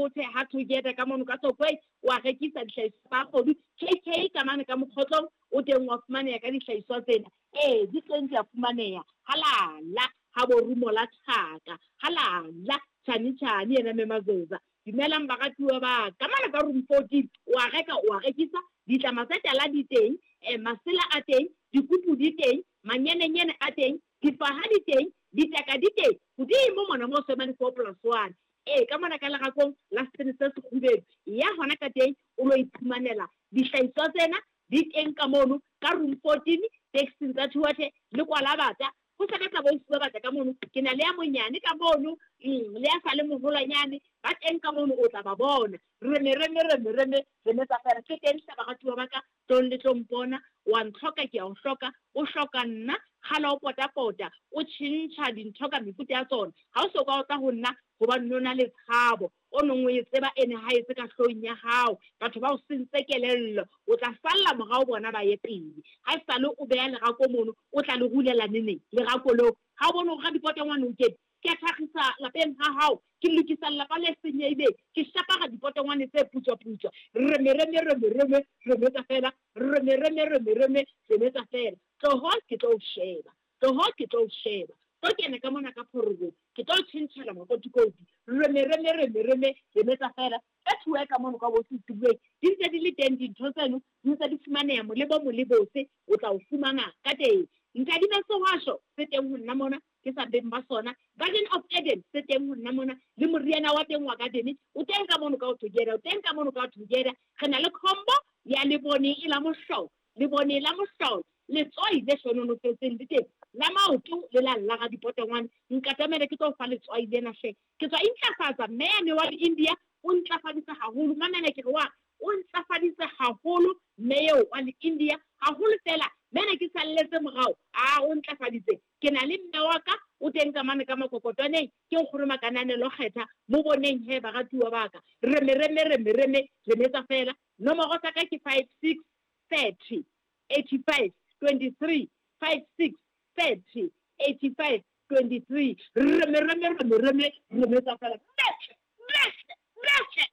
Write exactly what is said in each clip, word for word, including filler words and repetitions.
Bothe ha Together ka mono ka Tlokwe wa rekisa dihlahiswa tsa kgodu. K K ka mane ka Mokgotlong o teng wa fumaneha ka dihlahiswa tsena. Ee, di teng di a fumaneha. Halala ha bo rumo la thaka. Halala tjhani tjhani yena mme Mazoza. Dumelang baratuwa ba ka mane ka room fourteen wa reka wa rekisa ditlama tsa tala di teng, eh, masela a teng, dikupu di teng, manyenenyene a teng, difaha di teng, ditaka di teng. Hodimo mona mo Swemane four plus one. Ee, ka mona ka lerakong la setene se sekgubedu. Ya hona ka teng o lo iphumanela dihlahiswa tsena di teng ka mono ka room fourteen taxing tsa Thuathe le Kwalabata. Ho sebetsa bo ba batla ka mono, ke na le ya monyane ka mono, mm, le ya sa le moholwanyane ba teng ka mono, o tla ba bona. Reme reme reme reme reme tsa fela ke teng hle baratuwa ba ka, tlong le tlo mpona. Wa ntlhoka ke a o hloka, o hloka nna kgale o potapota, o tjhentjha dintho ka mefuta ya tsona. Ha o so ka o tla ho nna hobane o na le tshabo o nong o e tseba ene ha e tse ka hloohong ya hao, batho ba o sentse kelello, o tla salla morao bona ba ye pele. Ha e sale o beha lerako mono, o tla le rulela neneng lerako leo. Ha o bone hore radipotongwane o kene, ke a thakgisa lapeng ha hao, ke lokisa lelapa le senyehileng, ke shapara dipotongwane tse putswa-putswa. Reme reme reme reme reme tsa fela, reme reme reme reme reme tsa fela. Tloho ke tlo o sheba, tloho ke tlo o sheba. Tlo kene ka mona ka phorobong, ke tlo tjhentjhela makotikoti. Reme reme reme reme reme tsa fela. Ka thuwe ka mono ka bo setuweng, di ntse di le teng dintho tseno, di ntse di fumaneha molebo molebose, o tla o fumana ka teng. Nkadime sehwasho se teng ho nna mona, ke sa beng ba sona. Garden of Eden se teng ho nna mona, le moriana wa teng wa garden o teng ka mono ka o Together, o teng ka mono ka o Together. Re na le combo ya lebone e la mohlolo, lebone la mohlolo, letswai le hlononofetseng le teng, la maoto le la lla radipotongwane. Nkatamele ke tlo fa letswai lena hle. Ke tswa intlafatsa mme yane wa India o ntlafaditse haholo. Mamela ke re wa o ntlafaditse haholo mme eo wa India haholo fela. Mme ke salletse morao, a o ntlafaditse. Ke na le mme wa ka o teng ka mane ka makokotwaneng, ke nkgono Makananelo Kgetha. Mo boneng he baratuwa ba ka. Reme reme reme reme reme tsa fela. Nomoro tsa ka ke five six thirty eighty five twenty three, five six thirty eighty five twenty three. Reme reme reme reme reme tsa fela. Metle metle metle.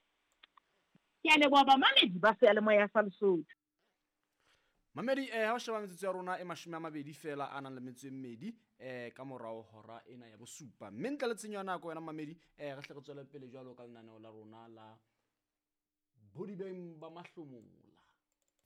Ke a leboha bamamedi ba seyalemoya sa Lesotho. Mamedi, eh, ha o sheba metsotso ya rona e mashome a mabedi fela a nang le metso e mmedi, eh, ka morao hora ena ya bosupa. Mme ntle le tshenyo ya nako wena mamedi, eh, re hle re tswele pele jwalo ka lenaneo la rona la Bodibeng ba Mahlomola.